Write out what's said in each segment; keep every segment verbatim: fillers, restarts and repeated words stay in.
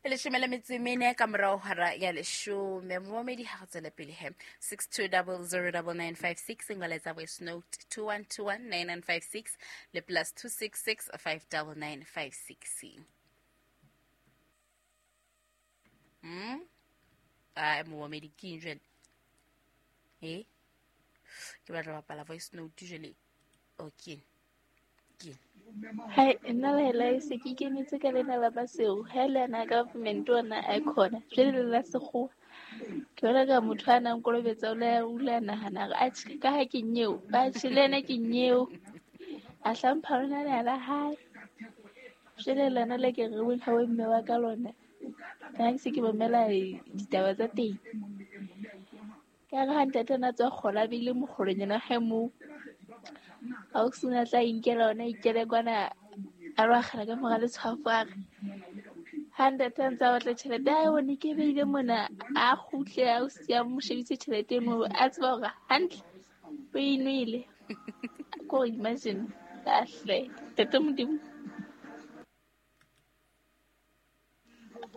Leshome le metso e mene ka morao hora ya leshome. Momamedi ha re tswele pele he. six two double zero double nine five six ngoletsa voice note two one two one nine nine five six le plus two six six five double nine five six. Mm? Ah, momamedi ke eng jwale? Eh? Ke batla ho bapala voice note jwale. Okay. Ke. Hai, nna le la se ke ikemetse ka lena la Masego. Ha le ana government ona a khona. Jwale le la sekgowa. Ke bona ka motho a nang kolobetsa o le o le nahana hore atjhe ka ha ke nyeo. Atjhe le ena ke nyeo. A hlompha lona le la hae. Jwale lona le ke re weng ha o mme wa ka lona. Ka ke se ke mamela ditaba tsa teng. Ka re ha ntate na tswa kgola bile mokgolonyana hae moo. Ha o sena tla inkela ona ikele kwana a lo akgela ka mora letshwafo a re ha ntate a ntse a batla tjhelete a bone ke beile mona a kgutle a o siya mo shebise tjhelete eno a tseba hore hantle o e nwele. Ko imagine kahle ntate Modimo.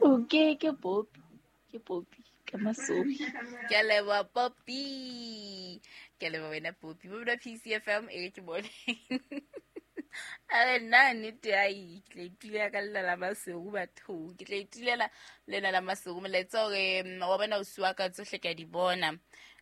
O ke ke Popi, ke Popi ka Masobi. Ke a leboha Popi. Ke a leboha wena Popi. Bo P C F M e ke bone. A re nna nnete ai ke tla itulela ka lena la Masego bathong. Ke tla itulela lena la Masego molaetsa hore wa bona o siwa ka tsohle ka di bona.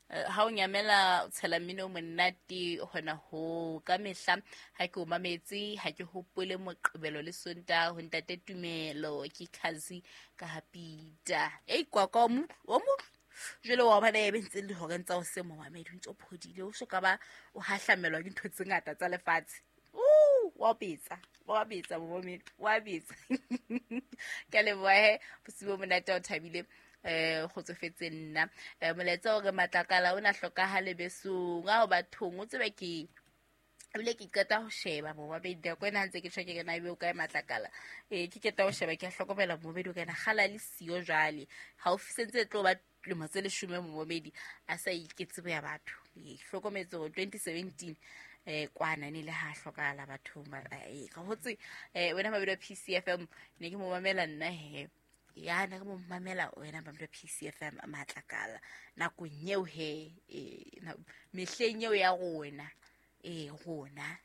Ha o nyamela o tshela mmino o monate hona ho ka mehla ha ke o mametse ha ke hopole Moqebelo le Sontaha ho ntate Tumelo ke Khazi ka Hapita. Ei kwa kwa o mo o mo jwale wa bona e be ntse le horeng tsa hoseng momamedi o ntse o phodile o so ka ba o hahlamelwa ke ntho tse ngata tsa lefatshe. Uh, wa betsa wa betsa momamedi wa betsa. Ke a leboha he bosibu bo monate o thabile eh kgotsofetse nna. Eh molaetsa hore Matlakala o na hlokahale besong a ho bathong o tsebe ke ebile ke qeta ho sheba momamedi nako ena ha ntse ke tjho ke re na ebe o kae Matlakala. Eh ke qeta ho sheba ke a hlokomela momamedi o kana kgala le siyo jwale. Haufi sentse e tlo ba lemo tse leshome momamedi a sa iketse ya batho. E hlokometse hore twenty seventeen eh kwana ne le ha hlokahala bathong ba eh ka hotse eh wena mabedi wa P C F M ne ke mo mamela nna he. Ya na ke mo mamela wena mabedi wa P C F M Matlakala nakong eo he eh mehleng eo ya rona eh rona.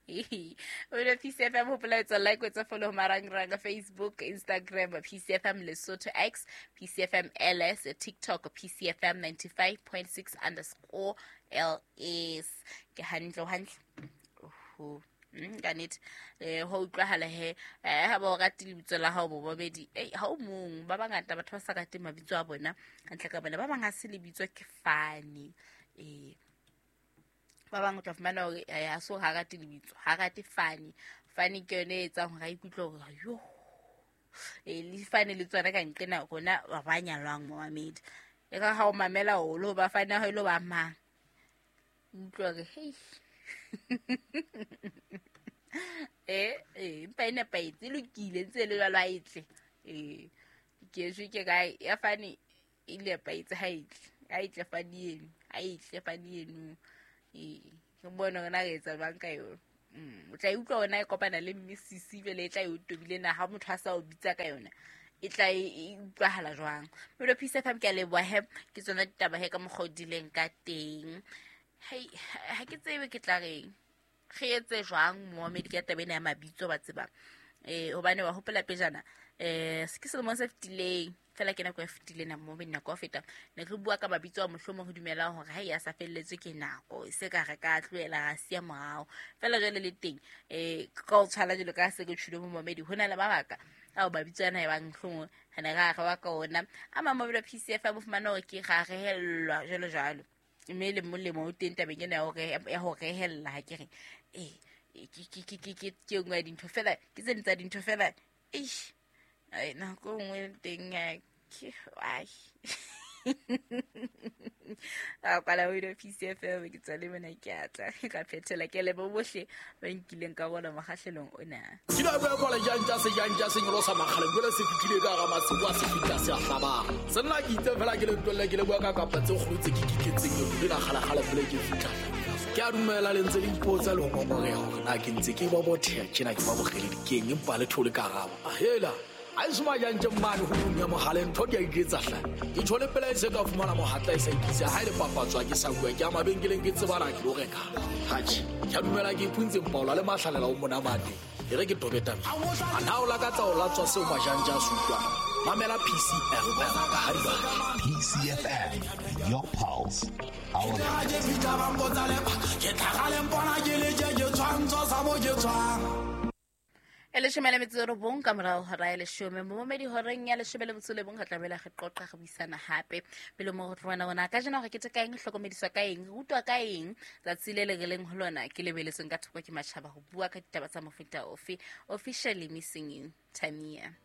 Wena P C F M hopola etsa like etsa follow marangrang Facebook, Instagram P C F M Lesotho X, P C F M L S, TikTok P C F M ninety-five point six underscore L S. Ke hantle hantle. Oho. Mm, ka nnete eh ho utlwahala he eh ha ba o rate lebitso la hao bobedi eh ha o mong ba bangata batho ba sa rateng mabitso a bona hantle ka bona ba bang ha se lebitso ke fane eh ba bang o tla fumana hore ha so ha rate lebitso ha rate fane fane ke yone e etsang hore a ikutlwe hore yo eh le fane le tsona ka nqena rona ba ba nyalwang momamedi e ka ha o mamela holo ba fane ha ile ba mang utlwa hore hei eh eh empa e nepahetse e lokile ntse le jwalo ha e tle eh ke eshwe ke kae ya fane e nepahetse ha e tle ha e tle fane eno ha e tle fane eno eh ke bone hore na re etsa jwang ka yona. Mm o tla e utlwa hore na e kopana le mme Sisi jwale e tla e o tobile na ha motho a sa o bitsa ka yona e tla e utlwahala jwang. Mme P C F M ke a leboha he ke tsona ditaba he ka mokgwa o dileng ka teng. Hei ha ke tsebe ke tla reng re etse jwang momamedi ka taba ena ya mabitso ba tseba eh hobane wa hopola pejana eh ke selemong se fetileng fela ke nako e fetileng na momamedi nako ya feta ne re bua ka mabitso a mohlomong re dumelang hore ha ya sa felletswe ke nako e se ka re ka tlohela ra siya morao fela jwale le teng eh ka o tshwala jwalo ka se ke tjhule momamedi ho na le mabaka ao mabitso ana e bang mohlomong re ne ra re wa ka ona a mang mabitso a P C F a bo fumana hore ke ra rehellwa jwalo jwalo mme le molemo o teng tabeng ena ya hore ya ho rehella ha ke re eh ke ke ke ke ke ke nngwe ya dintho fela ke tse ding tsa dintho fela eish ai nako nngwe teng ke ai a kwala o ile P C F M ke tswa le mona ke atla ka phethela ke lebo bohle ba nkileng ka bona mokgahlelong ona. Ke la bua kwala jang tsa se jang tsa se nyolosa makgale jwale se fitlile ka hara masibu a se fitla se a hlabang. Se nna ke itse fela ke le ntwelle ke le bua ka kapa tse kgolo tse ke kiketseng le la kgala kgala pele ke fitla. Ke a dumela le ntse le ipotsa le ho ngongoreha hore na ke ntse ke ba botheha tjena ke ba bogele dikeng empa le thole karabo. Hela A e se majantje mmane ho bung ya mohaleng ntho di a iketsa hle. Ke tjho le pela e se ka fumana mohatla e sa ikisa ha e le papatswa ke sa bua ke a mabenkeleng ke tsebana ke lo reka. Hatjhe, ke a dumela ke ipuntse mpaola le mahlalela o monamate. E re ke tobe taba. A na o lakatsa o latswa seo majantje a se utlwang. Mamela P C F M ka ha di batla. P C F M, your pulse, our Ke tlhagale mpona ke le je ke tshwantsho sa mo ke tshwang. E leshome le metso e robong ka morao hora ya leshome. Momamedi horeng ya leshome le motso le bong re tlamehile re qoqa re buisana hape. Pele mo re tlo bona hore na kajeno re keteka eng, re hlokomediswa ka eng, re rutwa ka eng, tsatsi le le re leng ho lona ke lebeletsweng ka thoko ke matjhaba ho bua ka ditaba tsa mofuta ofe. Officially missing you, Tamia.